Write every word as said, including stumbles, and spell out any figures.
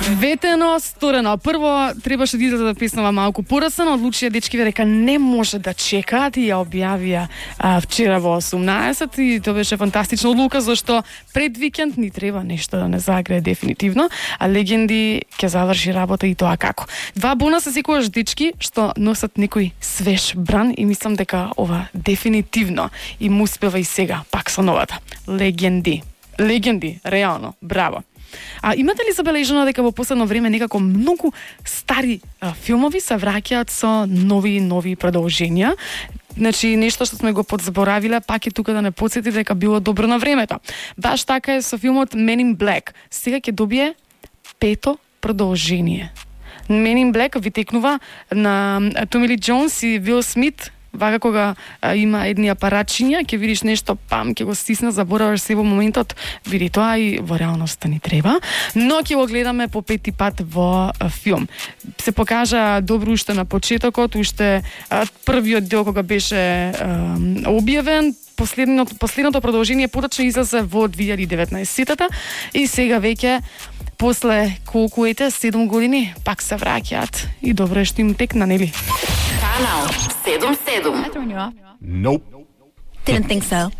Ветено, сторено. Прво требаше да излезе песнава малку порасано, одлучија дечкиве дека не може да чекаат и ја објавија а, вчера во осумнаесет и тоа беше фантастична одлука зашто пред викенд ни треба нешто да не загрее дефинитивно, а Легенди ќе заврши работа и тоа како. Два бонуса секогаш дечки што носат некој свеж бран и мислам дека ова дефинитивно им успева и сега пак со новата. Легенди. Легенди, реално, браво. А имате ли забележано дека во последно време некако многу стари а, филмови се враќаат со нови нови продолженија? Значи, нешто што сме го подзаборавиле, пак е тука да не потсети дека било добро на времето. Баш така е со филмот Men in Black. Сега ќе добие пето продолжение. Men in Black ви текнува на Томи Ли Џонс и Вил Смит. Вака кога а, има едни апаратчиња, ќе видиш нешто, пам, ќе го стисна, забораваш се во моментот, види тоа и во реалноста ни треба, но ќе го гледаме по пети пат во а, филм. Се покажа добро уште на почетокот, уште а, првиот дел кога беше а, објавен, последното, последното продолжение поточно излезе во две илјади и деветнаесета и сега веќе после колку ете, седум години, пак се враќаат и добро е што им текна, нели? Канал седум седум. Nope. Didn't think so.